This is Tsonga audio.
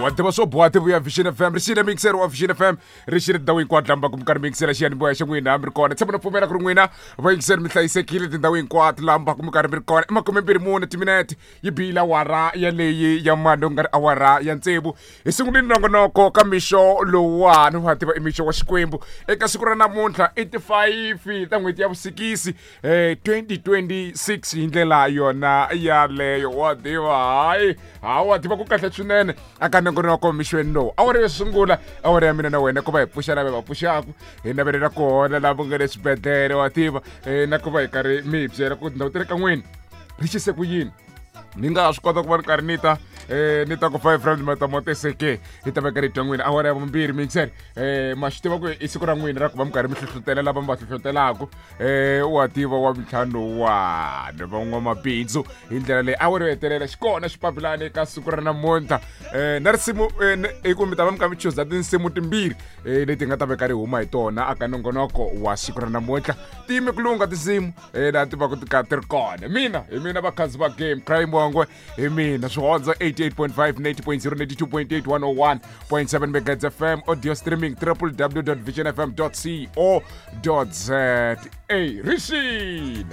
Wa tiva swo boha tivuya Vision FM, ri xile mixer wa Vision FM, ri xile tindhawu hinkwato lamba ku mi karhi mi yingisela xiyanimoya xa n'wina mi ri kona. Tshemba na pfumela ku ri n'wina vayingiseri mi hlayisekile tindhawu hinkwato lamba ku mi karhi mi ri kona. I 24 timinete yi bile awara yaleyi ya mani ku nga ri awara ya tsevu. Hi sungulile nongonoko ka mixo lowuwani, wa tiva i mixo wa Xikwembu. Eka siku ra namuntlha i ti 5 ta n'hweti ya vusikisi 2026 hi ndlela yona yaleyo. Wa tiva hayi ha wa tiva ku kahle swinene aka nongonoko mixweni lowu. Awara yo sungula awara ya mina na wena ku va hi pfuxa lava va pfuxaku, hi navelela ku hola lava nga le swibedhlele, wa tiva na ku va hi karhi mi hi byela ku tindhawu ta le ka n'wini ri xise ku yini. Ni nga ha swi kota ku va ni karhi ni ta ni ta ku 5 rand matamoteseke hi ta veka rito n'wina. Awara ya vumbirhi mixer ma swi tiva ku i siku ra n'wina ra ku va mi karhi mi hlohlotela lava mi va hlohlotelaku wa tiva wa mintlhanu wani van'wamabindzu hi ndlela leyi. Awara yo hetelela xikona xipapilani eka siku ra namuntlha na risimu i ku mi ta va mi kha mi chuza tinsimu timbirhi leti nga ta veka ri huma hi tona aka nongonoko wa siku ra namuntlha. Ti yime ku lungha tinsimu laha ti va ku ti ka ti ri kona. Mina hi mina vakhazi va game crime wangwe hi mina swihondzo 88.5 90.0 92.8 101.7 megahertz FM, audio streaming www.visionfm.co.za. Rixile.